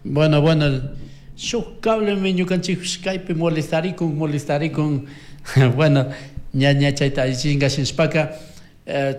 Bueno, bueno, shuk cablemi ñukanchikpish kaypi molestarikun, molestarikun. Bueno, ña ña chayta allichinga shinshpaka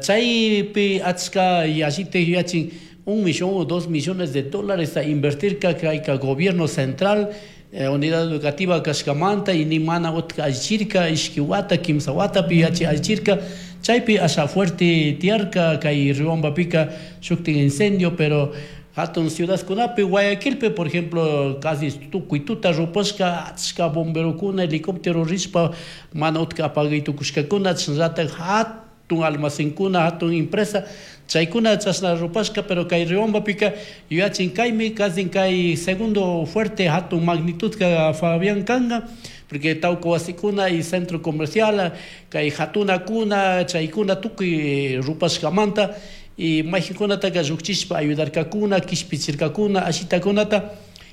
chaypi achka yallitik yuyachin 1 millón o 2 millones de dólares a invertirka kayka gobierno central unidad educativa kashkamanta y ni mana utka allichirka ishki wata kimsa watapi yuyachi allichirka. Chaypi asha fuerte tiyarka kay Riobambapika shuktin incendio, pero hatun ciudadkunapi, Guayaquilpi, por ejemplo, casi tukuy tuta rupashka, achka bomberokuna, helicóptero rishpa mana utka apagay tukushkakuna. Chashnallatak hatun almacenkuna, hatun empresa, chaykuna chashna rupashka. Pero kay Riobambapika yuyachin kaymi casi kay segundo fuerte hatun magnitud ka, Fabián, kanka, porque tawka wasikuna y centro comercial, kay hatunakuna, chaykuna tukuy rupashkamanta y maykankunataka llukchishpa ayudarkakuna, kishpichirkakuna ashitakunata.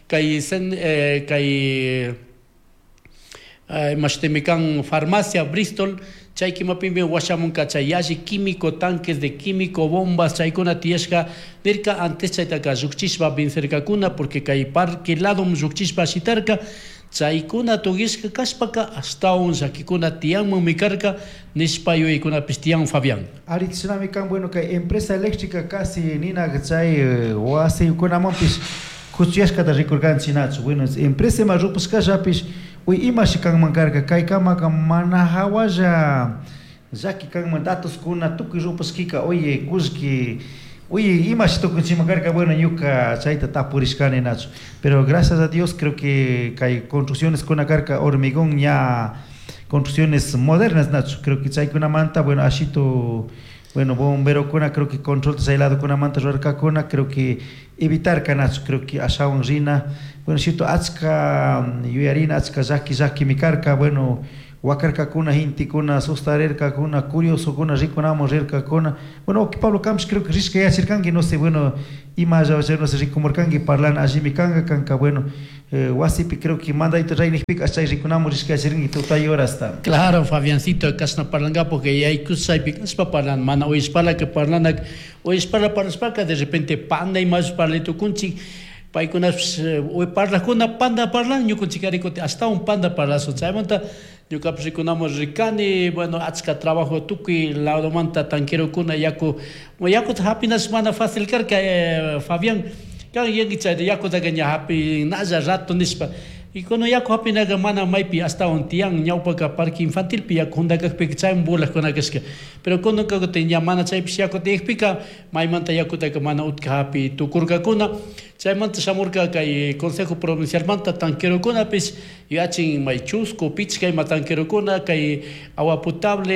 Kay sen, kay imashtimi kan farmacia Bristol, chay kimapimi washamunka chay yalli químico, tanques de químico, bombas, chaykuna tiyashka nirka. Antes chaytaka llukchishpa vencerkakuna, porque kay parque ladom llukchishpa shitarka. Chaykuna tukishka kashpaka ashtawan llakikuna tiyanmanmi karka nishpa yuyaykunapish tiyan, Fabián. Ari, chishnami kan. Bueno, kay empresa eléctrica casi nina chay wasikunamanpish kuchuyashkata rikurkanchik, nachu? Bueno, empresa ima rupashkallapish uy imashi kanman karka kaykamaka mana hawalla llaki kanman datoskuna tukuy rupashkika, oye, kullki, oye, imashi tukunchikman karka. Bueno, ñuka chayta tapurishkani, nachu? Pero gracias a Dios creo que kay construcciones kuna karka hormigón, ña construcciones modernas, nachu? Creo que chaykunamanta, bueno, ashitu, bueno, bomberokuna creo que control chay ladokunamanta rurarkakuna, creo que evitarka, nachu? Creo que ashawan rina, bueno, cierto, achka yuyarina, achka llaki llakimi karka. Bueno, wakarkakuna gentekuna, sustarirkakuna, curiosokuna rikunamun rirkakuna. Bueno, Pablo Campos creo que rishka yachirkanki, no sé, bueno, ima no sé, rikumurkanki, parlana allimi kanka kanka. Bueno, wasipi creo que mandayta raynikpika chay rikunamun rishka yachirkanki tutay horasta. Claro, Fabiancito, kashna parlanka porque yaykush chaypi kashpa parlan, mana uyashpala que parlanak, uyashpala parlashpaka de repente panda imash parlay tukunchik. Paykunapish parlakuna panda parlan, ñukunchik ari kutin ashtawan panda parlashun. Chaymanta ñukapish rikunamun rikani. Bueno, achka trabajo, tukuy ladomanta tanquerokuna, yaku, yakuta hapinash mana fácil karka, Fabián. Kan yanki chay yakutaka ña hapinalla rato nishpa y cuando yaku hapinaka mana maypi ashtawan tiyan. Ñawpaka parque infantilpi yaku junda kakpika chayman burlakuna kashka, pero kunanka kutin ña mana chaypish yaku tiyakpika maymanta yakutaka mana utka hapi tukurkakuna. Chaymanta shamurka kay consejo provincialmanta tanquerokunapish, yachin may chusku pichka ima tanquerokuna, kay agua potable,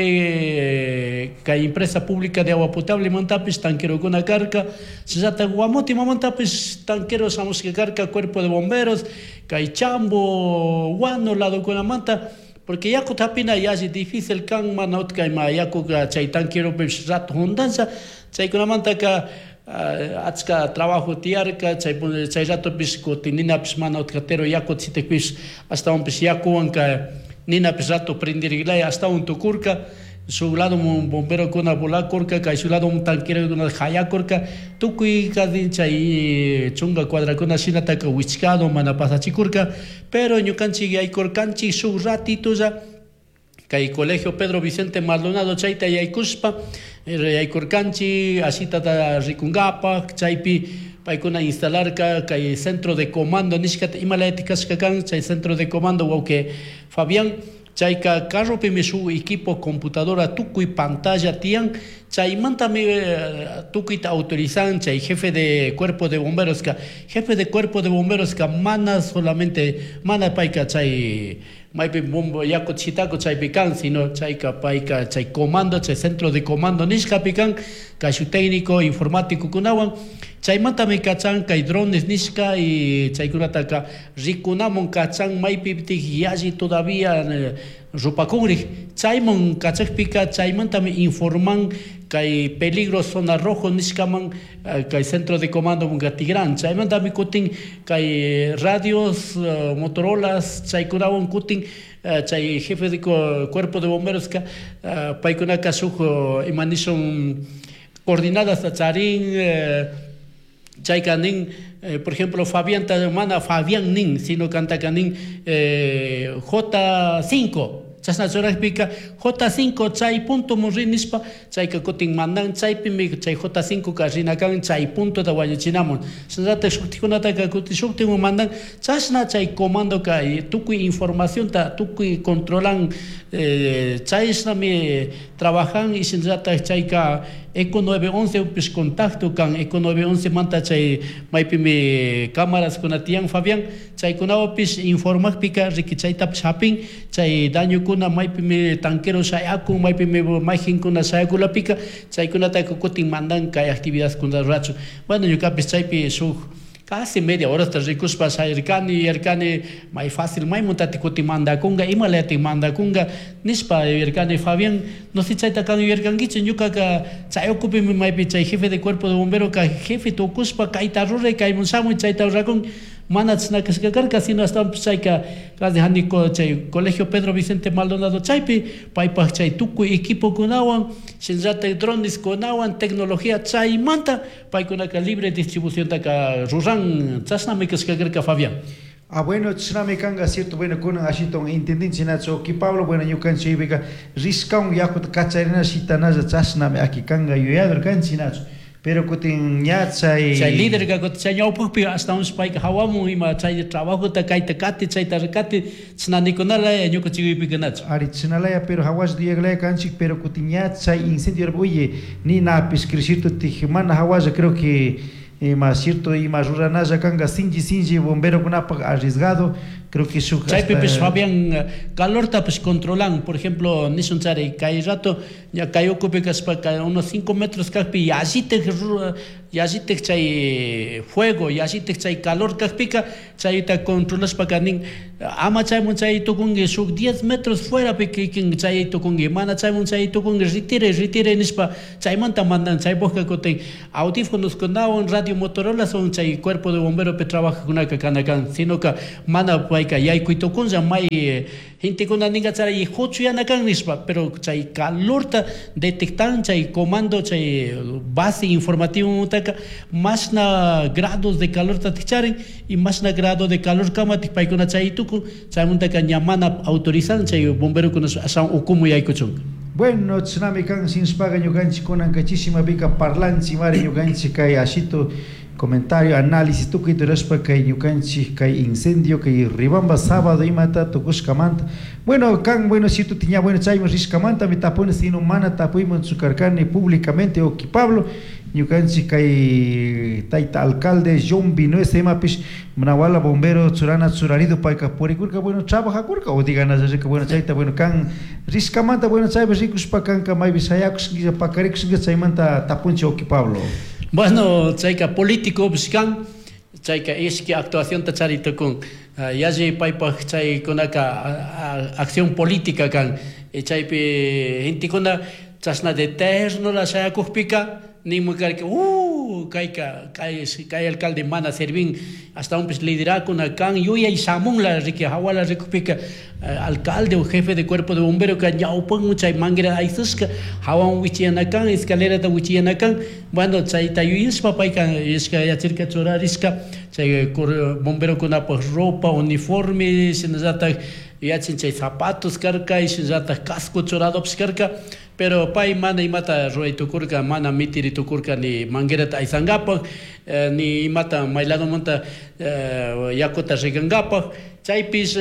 kay empresa pública de agua potable mantapish tanquerokuna karka, shinallatak Guamote imamantapish tanquero shamushka karka, cuerpo de bomberos, kay Chambo, Guano ladokunamanta, porque yakuta hapina yalli difícil kan, mana utka ima yakuka chay tanqueropish rato jundansha. Chaykunamantaka achka trabajo tiyarka chay chay ratopish. Kutin ninapish mana utkatero yakuta shitakpish ashtawanpish yakuwanka ninapish rato prendirilaya ashtawan tukurka. Shuk lado bomberokuna volakurka, kay shuk lado tanquerokuna hayakurka, tukuy casi chay chunka cuadrakuna shinataka wichkado mana pasachikurka. Pero ñukanchik yaykurkanchik shuk ratitolla kay colegio Pedro Vicente Maldonado, chayta yaykushpa yaykurkanchik ashitata rikunkapak. Chaypi paykuna instalarka kay centro de comando nishkata. Imalayatik kashka kan chay centro de comando, wawki Fabián? Chayka carropimi shuk equipo, computadora, tukuy pantalla tiyan. Chaymantami tukuyta autorizan chay jefe de cuerpo de bomberos ka. Jefe de cuerpo de bomberos ka mana solamente, mana payka chay maypi bombo yaku chitaku chaypi kan, sino chayka payka chay comando, chay centro de comando nishkapi kan, kay técnico informático kunawan. Chaymantami kachan kay drones nishka y chaykunataka rikunamun kachan maypitik yalli todavía rupakunrik. Chayman kachakpika chaymantami informan kay peligro zona rojo nishkaman, kay centro de comando tigran. Chaymantami kutin kay radios, Motorolas, chaykunawan kutin chay jefe de cuerpo de bomberos ka paykunaka shuk ima nishun coordenadas charin. Chayka nin, por ejemplo, Fabianta mana Fabián nin, sino kantaka nin J5. Chashna churajpika J5 chay puntoman ri nishpa chayka kutin mandan chaypimi chay J5 ka rina kan chay puntota wañuchinamun. Shinallatak shuktikunataka kutin shuktimun mandan chashna chay comandoka tukuy informacionta tukuy controlan, chayshnami trabajan. Y shinallatak chayka Eco 911 pish contacto kan, Eco 911 manta chay maypimi cámaras kuna tiyan, Fabián, chaykunapish informakpika riki chaytapish hapin chay dañokuna maypimi tanquero shayakun, maypimi mayjinkuna shayakulapika chaykunataka kutin mandan kay actividadkuna rurachun. Bueno, ñukapish chaypi shuk casi media horasta rikushpa shayarkani, yuyarkani may fácil maymuntati kutin mandakunga, imalayatik mandakunga nishpa yuyarkani, Fabián. No sé chayta kan yuyarkankichu. Ñukaka chay ukupimi maypi chay jefe de cuerpo de bombero ka jefe tukushpa kayta ruray, kaymun shamuy, chayta rurakun, mana chashna kashka karka, sino ashtawanpish chayka casi haniko chay colegio Pedro Vicente Maldonado chaypi paypak chay tukuy equipokunawan, shinallatak droneskunawan, tecnología chaymanta paykunaka libre distribuciontaka ruran. Chashnami kashka karka, Fabián. Ah, bueno, chashnami kanka, cierto. Bueno, kunan ashiton entendinchik nachu, uki Pablo. Bueno, ñukanchikpika rishkawan yakuta kacharina shitanalla chashnami aki kanka yuyador kanchik nachu, pero kutin ña chay Chay líder kutin chay ñawpakpi ashtawanpish payka hawamun ima chay trabajota kayta kati, chayta kati, chashna nikunalaya ñukanchikpika nachu. Ari, chashnalaya, pero hawash yuyaklaya kanchik, pero kutin ña chay incendio, oye, ninapish cierto mana hawalla, creo que ima cierto ima ruranalla kanka sinchi sinchi bomberokunapak arriesgado, creo que shuk Chaypipish, Fabián, calortapish controlan. Por ejemplo, nishun chari kay rato ña kay ukupi kashpaka unos 5 metros kakpi yallitik yallitik chay fuego, yallitik chay calor kakpika chayta controlashpaka nin ama chaymun chay tukunki, shuk 10 metros fuerapi kikin chay tukunki, mana chaymun chay tukunki, retire, retire nishpa chaymanta mandan. Chaypukka kutin audífonoskunawan, radio Motorola son chay cuerpo de bomberopi trabajakunaka kana kan, sino ka mana payka yaykuy tukunlla may gentekuna ninga chay huchuyana kan nishpa, pero chay calorta detectan chay comando, chay base informativo mutaka mashna grados de calor charin y mashna grado de calor kamatik paykuna chay tukun. Chaymantaka ña mana autorizan chay bomberokuna ashawan ukumu yaykuchunka. Bueno, chashnami kan. Shinashpaka ñukanchik kunanka chishimapika parlanchik mari ñukanchik kay ashitu comentario, análisis tukuyta rurashpa kay ñukanchik kay incendio kay Riobamba sábado imata tukushkamanta. Bueno, kan, bueno, cierto tiña, bueno, chayman rishkamantami tapuni, sino mana tapuymanchu karkani públicamente, uki Pablo. Ñukanchik kay tayta alcalde John Vinuesa imapish Nawala bombero churana churarido payka purikurka, bueno, trabajakurka o diganallarika. Bueno, chayta, bueno, kan rishkamanta, bueno, chaypi rikushpa kanka maypi shayakushka pakarikushka chaymanta tapunchik, uki Pablo. Bueno, chayka político kan, chayka ishki actuacionta chari tukun, yalli paypak chaykunaka acción política kan. Chaypi gentekuna chashna de ternola shayakukpika ninmi karka kayka kay kay alcalde mana servin, ashtawanpish liderakuna kan yuyay shamunla riki hawala rikukpika alcalde o jefe de cuerpo de bombero ka ñawpanman chay manguera aysashka hawan wichiyana kan, escalerata wichiyana kan. Bueno, chayta yuyashpa payka yuyashka yachirka churarishka chay bomberokunapak ropa, uniforme, shinallatak yachin chay zapatos karka, shinallatak casco churadopish karka, pero pay mana imata ruray tukurka, mana mitiri tukurka ni manguerata aysankapak, ni imata may ladomanta yakuta rigankapak. Chaypish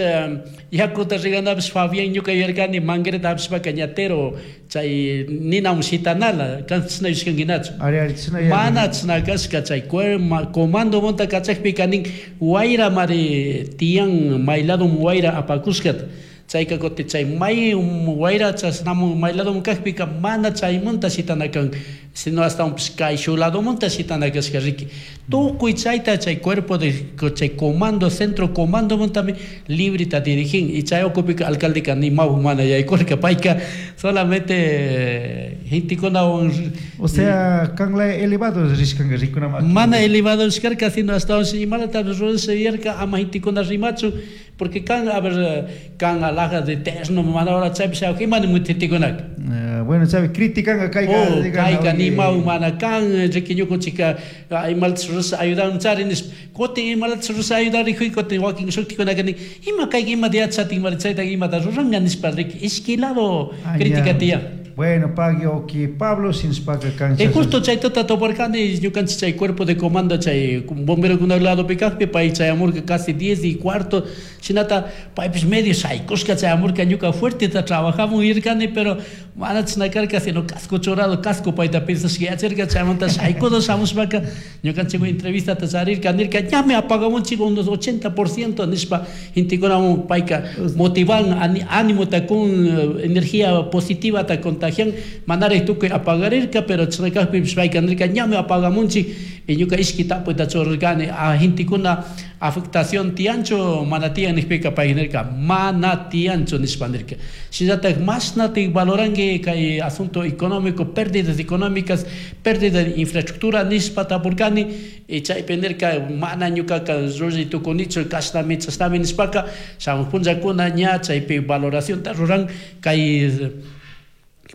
yakuta riganapish, Fabián, ñuka yuyarkani manguerata hapishpaka ñatero chay ninawan shitanala kan, chashna yuyashkankinachu? Ari, ari, chashna. Mana chashna kashka. Chay comando manta kachakpika nin wayra mari tiyan, may ladoman wayra apakushkata. Chayka kutin chay may wayra chashnamun may ladoman kakpika mana chaymanta shitana kan, sino ashtawanpish kay ladomanta shitana kashka riki. Tukuy chayta chay cuerpo de chay comando, centro comando montami librita dirigin y chay ukupika alcaldeka ni mahu mana yaykurka, payka solamente gentekunawan. O sea, kanla elevado rishkanka rikunama. Mana elevado rishkarka, sino ashtawanpish imalata rurasha yuyarka ama gentekuna rimachu, porque kan, a ver, kan alhaja de terno mana hora chaypi shayuk imani gentekunaka. Bueno, chaypi criticanka kayka Oh, digan, kayka oye. nimaw mana kan, riki ñukunchika imalata rurasha ayudanchari nishpa. Kutin imalata rurasha ayudarikuy, kutin wakin shuktikunaka nin, ima kayka imata yachatin, mari chayta imata ruranka nishpa, riki ishki lado Ah, crítica ya. tiyan. Bueno, pagui oki Pablo sinspaka kancha. E justo chaytata toparkani ñukanchik chay cuerpo de comando chay bomberokuna ladopi kajpi pay chayamurka casi 10:15 shinata paypish medio shaykushka chayamurka ñuka fuerteta trabajamun irkani pero mana chashna karka sino casco churado casco payta pensashka yacharka chaymanta shaykudo shamushpaka ñukanchik entrevistata charirka nirka ñami apagamunchik unos 80% nishpa gentekunamun payka motivan ánimota con energía positivata contagian manarek tukuy apagarirka pero chashna kajpipish payka nirka ñami apagamunchik y ñuka ishki tapuyta churarkani a gentekuna afectación tiyanchu mana tiyan nijpika pay nirka mana tiyanchu nishpa nirka. Shinallatak mashnatik valoranki kay asunto económico, pérdidas económicas, pérdida de infraestructura nishpa tapurkani y chaypi nirka mana ñukaka ruray tukunichu kashnami chashnami nishpaka shamuj punllakuna ña chaypi valoracionta ruran kay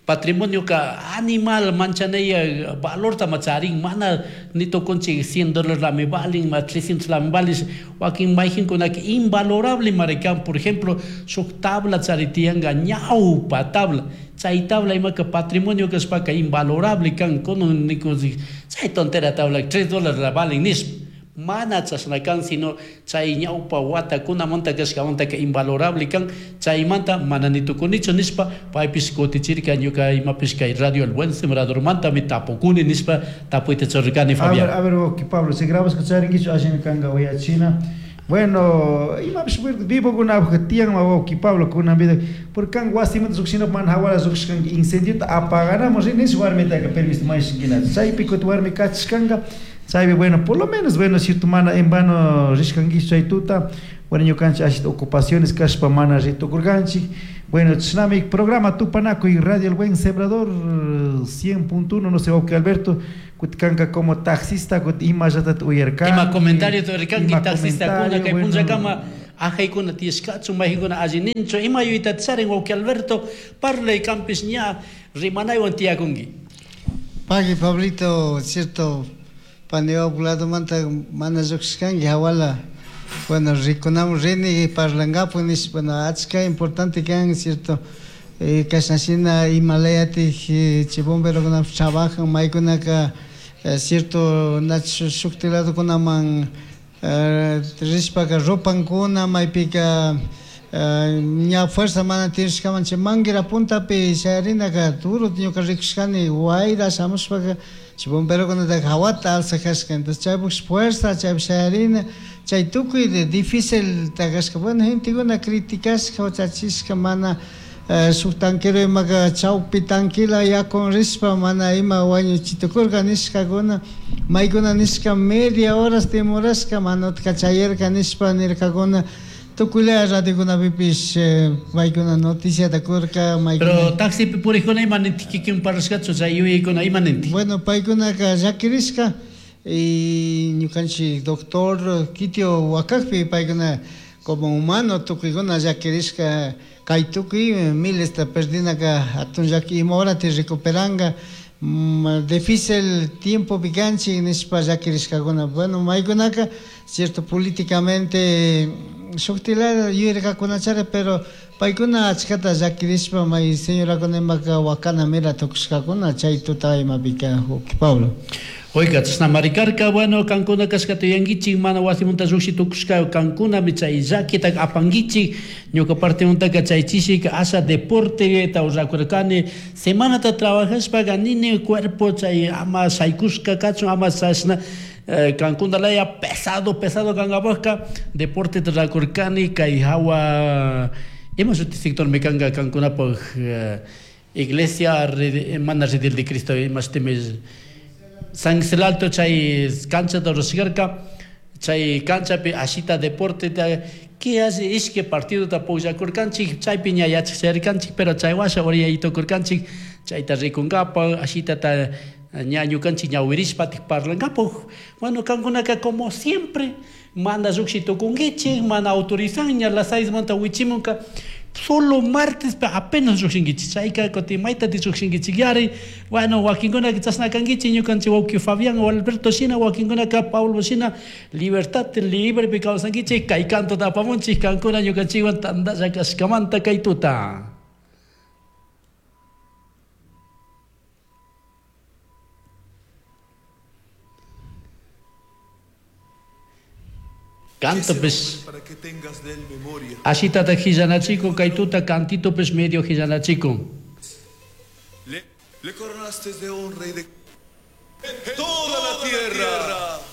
patrimonio ka animal manchanaya valorta macharin mana ni tukunchik 100 dólares lami valin ma 300 lami valin wakin mayqinkunaka invalorable marikan. Por ejemplo, shuk tabla charitiyanka ñawpa tabla chay tabla imaka patrimonio kashpaka invalorable kan kunan nikunchik chay tontera tabla 3 dólares la valin nishpa mana chashna kan sino chay ñawpa watakunamanta kashkamantaka invalorable kan chaymanta mana ni tukunichu nishpa paypish kutichirka ñuka imapish kay Radio El Buen Sembradormantami tapukuni nishpa tapuyta churarkani A ver, Fabián. a ver, oki Pablo, si grabas charinkichu allimi kanka uyachina. Bueno, imapish vivokunapaj tiyan wawki Pablo kunan vida, porque kan wasimanta lluqshina mana hawala lluqshkanki incendiota apaganamos rin nish warmitaka permiso mayshinkina. Chaypi kuti warmi kachishkanka, chaypi bueno, por lo menos bueno, cierto mana en vano rishkankichu chay tuta. Bueno, ñukanchik ashita ocupaciones kashpa mana ritukurkanchik. Bueno, chishnami programa Tupanakuy Radio El Buen Sembrador 100.1, no sé, wawki Alberto, kuti kanka como taxista, kuti imallatata uyarkanki. Ima comentario uyarkanki Ima taxistakuna comentario, kay bueno. punllakama ajaykuna tiyashkachu maykuna alli ninchu ima yuyayta charin wawki Alberto parlay kanpish ña rimanaywan tiyakunki. Pagui Pablito, cierto, panewap ladomanta mana lluqshkanki hawala. Bueno, rikunamun rini parlankapu nishpa, bueno, achka importante kan, cierto, kashnashina imalayatik chay bomberokunapish trabajan, maykunaka cierto nach shukti ladokunaman rishpaka rupankuna, maypika ña fuerza mana tirishkaman chay manguera puntapi shayarinaka duro ñuka rikushkani wayra shamushpaka chay bomberokunataka hawata alzajashka, entonces chaypuk fuerza chaypi shayarina chay tukuy de difícil takashka. Bueno, gentekuna criticashka huchachishka mana shuk tanquero imaka chawpi tanquila yakun rishpa mana ima wañuchitukurka nishkakuna, maykuna nishka media horas demorashka mana utka chayarka nishpa nirkakuna. Tukuylaya radiokunapipish paykuna noticiata kurka, maykuna Pero taxipi purikuna ima nintik kikin parlashkachu chay yuyaykuna ima nintik? Bueno, paykunaka llakirishka y ñukanchik doctor Kitio wakakpi paykuna como humano tukuykuna llakirishka kay tukuy milesta perdinaka hatun llaki ima horata recuperanka, difícil tiempo pikanchik nishpa llakirishkakuna. Bueno, maykunaka cierto políticamente shuktilaya yuyarkakunachari, pero paykuna achkata llakirishpa may señorakuna imaka wakana mira tukushkakuna chay tuta imapika wawki Pablo. Oiga, chashna marikarka, bueno, kankuna kashkata yuyankichik, mana wasimanta lluqshi tukushka kankunami chay llakita apankichik, ñuka partimantaka chay chishika asha deporte rurakurkani, semanata trabajashpaka nini cuerpo chay ama shaykushka kachun, ama chashna kankuna laya pesado, pesado kankapajka, deporte rurakurkani, kay hawa, ima shuti sector mi kanka kankunapaj iglesia mana Redil de Cristo, ima shutimi San Miguel Alto chay cancha rurashkarka, chay canchapi ashita deporte ta, que hace ishki partido ta pugllakurkanchik, chaypi ña yachak pero chay washa oriyaytukurkanchik, chayta rikunkapa, ashita ta ña ñukanchik ñawirishpa parlankapa. Bueno, kankunaka como siempre, mana lluqshi tukunkichik, mana autorizan, ña las 6 manta wichimunka. Solo martes apenas llujshinkichik chayka kutin maytati llujshinkichikyari. Bueno, wakinkunaka chashna kankichik ñukanchik wawki Fabián o Alberto shina, wakinkunaka Paulo shina, libertad librepi kawsankichik, kay cantota apamunchik kankuna ñukanchikwan tantalla kashkamanta kay tuta. Canto pues Para que tengas de él memoria. Ashitata hillanachiko kay tuta cantito pues medio hillanachiko. Le coronaste de honra y de toda la tierra.